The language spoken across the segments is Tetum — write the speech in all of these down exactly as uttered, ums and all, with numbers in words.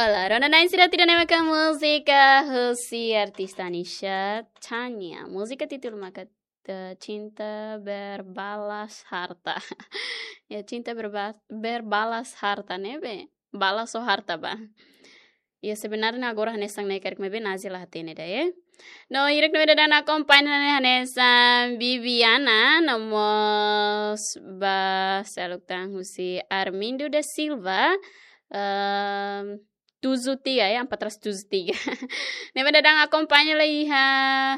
Olá, rona-na'in sira, ida-ne'e maka múzika husi artista Nisha Tanya. Múzika títulu maka, eh, Cinta Berbalas Harta. Ya, Cinta Berba-, Berbalas Harta ne'ebé balas ou harta ba. Ya, sebenarnya agora hanesan ne'e karik, maibé Nazia la hatene ida, ya. No, hirak ne'ebé daudaun akompaña ne'e hanesan Bibiana, no mós ba seluk tan husi Armindo da Silva, ehm, tujuh tiga, ya, empat ratus tujuh tiga. Ne'ebé daudaun akompaña hela iha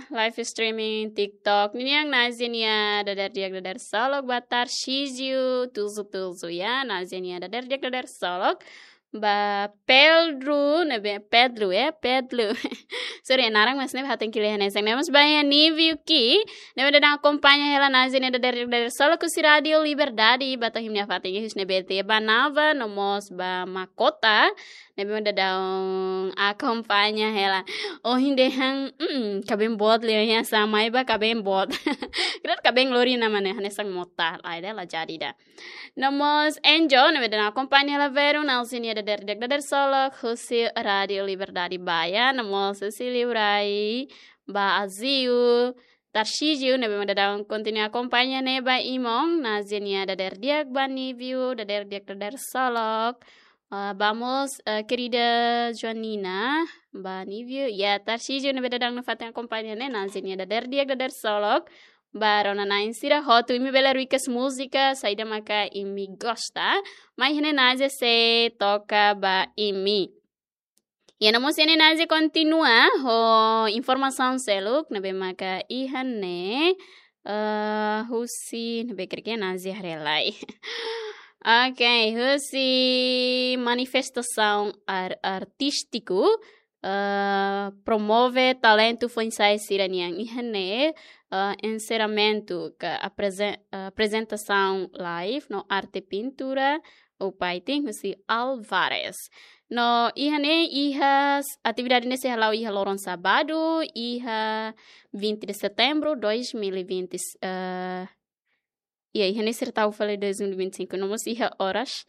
live streaming TikTok ninian. Nazia nia dadeer di'ak, dadeer solok ba Tarcísio tujuh tujuh, ya. Nazia nia dadeer di'ak, dadeer solok ba Pedro, ne'ebé Pedro, ya, Pedro. Sorry, naran mós ne'e hatene kile hanesan ne'e. Mós ba iha Nívio Ki, ne'ebé daudaun akompaña hela Nazia nia dadeer di'ak, dadeer solok husi Rádio Liberdade, ba to'o imi-nia fatin iha husi ne'ebé ita banaba, no mós ba Makota, ne'ebé daudaun akompaña hela. Ohin dehan, mm, kabeen boot liu ya, samai ba kabeen boot. Kira kabeen lori ona, maibé hanesan mota, lae, la jadi ida. No mós Angel, ne'ebé daudaun akompaña hela Veru, Nazia nia dadeer di'ak, dadeer solok husi Rádio Liberdade ba, ya. No mós husi liurai ba Aziu, Tarcísio, ne'ebé daudaun kontinua akompaña ne'e ba Imon. Nazia nia dadeer di'ak ba Nívio, dadeer di'ak, dadeer solok. Ah, ba mós, eh, querida Joanina, ba Nívio, ya, Tarcísio, ne'ebé daudaun nafatin akompaña ne'e. Nazia nia dadeer di'ak, dadeer solok ba rona-na'in sira hotu. Imi bele request múzika saida maka imi gosta, mai iha ne'e Nazia sei toka ba imi. Ya, no mós iha ne'e Nazia kontinua ho informasaun seluk, ne'ebé maka iha ne'e, eh, husi, ne'ebé karik Nazia haree lai. Ok, husi manifestasaun ar-, artístiku, eh, promove talentu foin-sa'e sira-nian. Iha ne'e, eh, enserramentu ka apresen-, eh, aprezentasaun live no arte pintura ou painting husi Alvarez. No iha ne'e, iha s-, atividade ne'e sei hala'o iha loron sábadu, iha vinte de setembro dois mil e vinte, eh, ya, iha ne'e sira tau fali dois mil e vinte e cinco, no mós iha oras,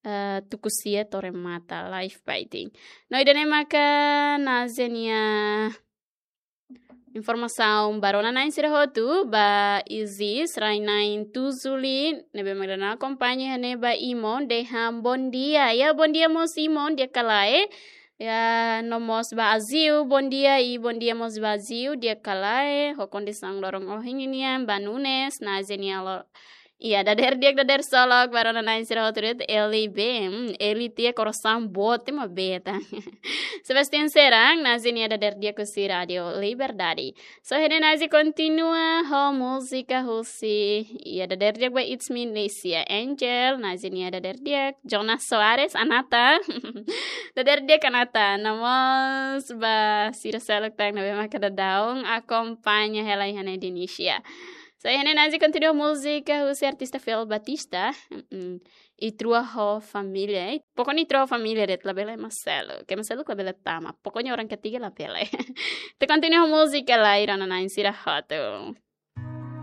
eh, tuku sia to'o remata live painting. No ida-ne'e maka Nazia nia informasaun ba rona-na'in sira hotu. Ba Isis Rainain Tuzuli, ne'ebé mak daudaun akompaña iha ne'e ba Imon, dehan bondia. Ya, bondia mós Imon, di'ak ka lae. Ya, no mós ba Aziu, bondia, i bondia mós ba Aziu, di'ak ka lae ho kondisaun loron ohin ninian. Ba Nunes, Nazia nia lo-, ya, dadeer di'ak, dadeer solok ba rona-na'in sira hotu de'it. Eli be, hmm, Eli tiha korasaun boot, ema beta. Sebastian Serang, Nazia nia dadeer di'ak husi Rádio Liberdade. So, iha ne'e Nazia kontinua ho múzika husi, ya, dadeer di'ak ba It's Me Nicia Angel, Nazia nia dadeer di'ak. Jonas Soares, Anata. Dadeer di'ak Anata, no mós ba sira seluk tan ne'ebé maka daudaun akompaña hela iha ne'e di Nicia. So, iha ne'e Nazia kontinua múzika husi artista Fel Batista. Mm-mm. Itrua ho Família, eh. Pokoknya Itrua ho Família de'it, labele ema seluk. Ke ema seluk labele tama. Pokoknya orang ketiga labele. Ita kontinua ho múzika lai, rona-na'in sira hotu.